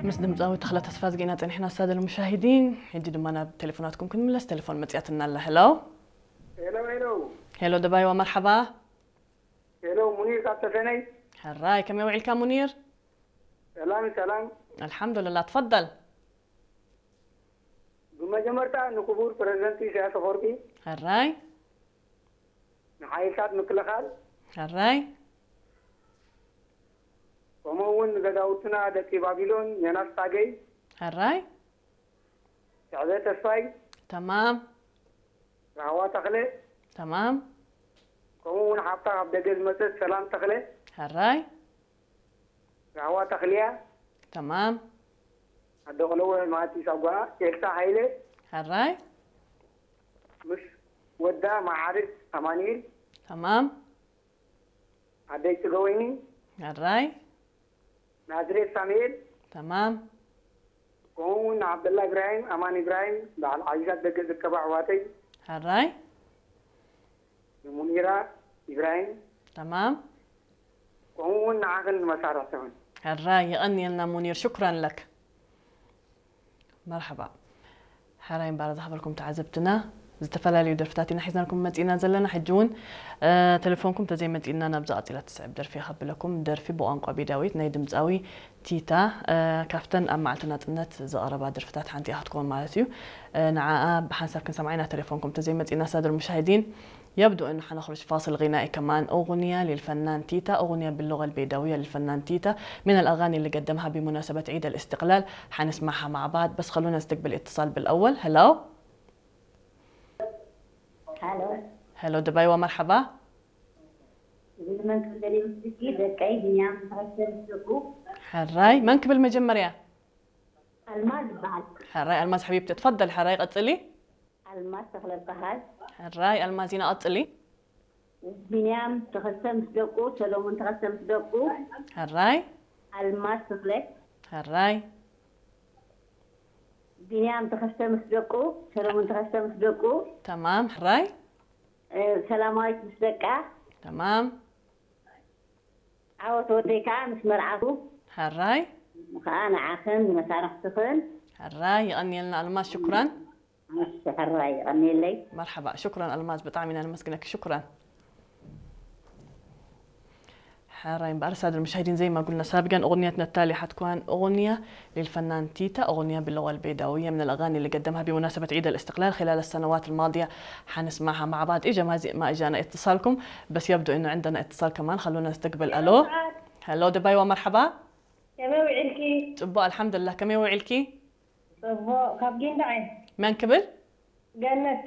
ምስ ድምፃዊ ተኽለ ተስፋዝጊ ኢና ጸኒሕና፣ ሳደል ሙሻሂዲን። ሕጂ ድማ ናብ ቴሌፎናትኩም ክንምለስ። ቴሌፎን መጽያትና ኣላ። ሄሎ። ሄሎ ሄሎ ሄሎ ደባይዋ፣ መርሓባ። ሄሎ፣ ሙኒር ካብ ተሰነይ። ሕራይ፣ ከመይ ውዒልካ ሙኒር? ሰላም ሰላም። ኣልሓምዱልላ፣ ትፈደል። ብመጀመርታ ንክቡር ፕረዚደንት ኢሳያስ ኣፈወርቂ፣ ሕራይ። ንሓይልታት ምክልኻል፣ ሕራይ። ከምኡ እውን ንገዛውትና ደቂ ባቢሎን፣ ዮናስ ታገይ፣ ሕራይ። ስዕበ ተስፋይ፣ ተማም። ራህዋ ተኽለ፣ ተማም። ከምኡ እውን ሓፍታ ካብ ደገ ዝመፀት ሰላም ተኽለ፣ ሕራይ። ራህዋ ተኽልያ፣ ተማም። ኣደ ቆለወ ማቲ ሳጓ፣ ኤልሳ ሃይለ፣ ሕራይ። ምስ ወዳ መዓርግ ኣማኑኤል፣ ተማም። ኣደይ ፅገወይኒ፣ ሕራይ። ናዝሬት ሳሙኤል፣ ተማም። ከምኡ እውን ንዓብደላ ኢብራሂም፣ ኣማን ኢብራሂም፣ በዓል ዓዚዛት ደገ ዝርከባ ኣሕዋተይ፣ ሕራይ። ንሙኒራ ኢብራሂም፣ ተማም። ከምኡ እውን ንዓኽን ንመሳርሕትኽን። ሕራይ፣ የቐንየልና ሙኒር፣ ሽኩራን ለክ። መርሓባ። ሕራይ እምበኣር ዝሓበርኩም ተዓዘብትና፣ ዝተፈላለዩ ደርፍታት ኢና ሒዝናልኩም መፂእና ዘለና። ሕጂ እውን እ፣ ቴሌፎንኩም ተዘይመፂእና ናብዛ ቀፂላ ትስዕብ ደርፊ እያ ከብለኩም። ደርፊ ብቋንቋ ቤዳዊት ናይ ድምፃዊ ቲታ፣ እ፣ ካብተን ኣብ መዓልቲ ናፅነት ዝቐረባ ደርፍታት ሓንቲ እያ ክትከውን ማለት እዩ። እ፣ ንዓኣ ብሓንሳብ ክንሰምዓ ኢና፣ ቴሌፎንኩም ተዘይመፂእና። ሳደል ሙሻሂዲን፣ يبدو أنه حنخرج فاصل غنائي كمان، أغنية للفنان تيتا، أغنية باللغة البيداوية للفنان تيتا، من الأغاني اللي قدمها بمناسبة عيد الاستقلال، حنسمعها مع بعض، بس خلونا نستقبل اتصال بالأول. هلو. هلو. هلو دبي، ومرحبا. من كبل مسكي دقي بنيام تحسن سوقو. ሕራይ፣ መን ክብል መጀመርያ? ألماس بعد. ሕራይ ኣልማዝ ሓቢብቲ፣ ትፈደል። ሕራይ ቀፅሊ። ألماس تخلى البهاز. ሕራይ ኣልማዝ ኢና፣ ቀፅሊ። بنيام تخسم سوقو، سلومون تخسم سوقو. ሕራይ ألماس تخلى. ሕራይ بنيام تخسم سوقو، سلومون تخسم سوقو. ተማም። ሕራይ أه، سلامايت مسدقة. ተማም። عاوت وديكا مس مرعاكو. ሕራይ خا نعاخن مسارحتخن. ሕራይ፣ የቐንየልና ኣልማዝ፣ ሽኩራን። مش حراي غني لي. መርሓባ፣ ሽኩራን ኣልማዝ፣ ብጣዕሚ ኢና ነመስግነኪ። ሽኩራን። ሕራይ እምበኣር ሳድር ሙሻሂዲን፣ زي ما قلنا سابقا، أغنية نتالي حتكون أغنية للفنان تيتا، أغنية باللغة البيداوية، من الأغاني اللي قدمها بمناسبة عيد الاستقلال خلال السنوات الماضية. حنسمعها مع بعض. إجا ما زي ما إجانا اتصالكم، بس يبدو إنه عندنا اتصال كمان. خلونا نستقبل. ألو. هلو دبي، ومرحبا. ከመይ ውዒልኪ? ጽቡቕ ኣልሓምዱሊላህ። ከመይ ውዒልኪ? ጽቡቕ። ካብ ጊንዳዕ እየ። መን ክብል? ገነት።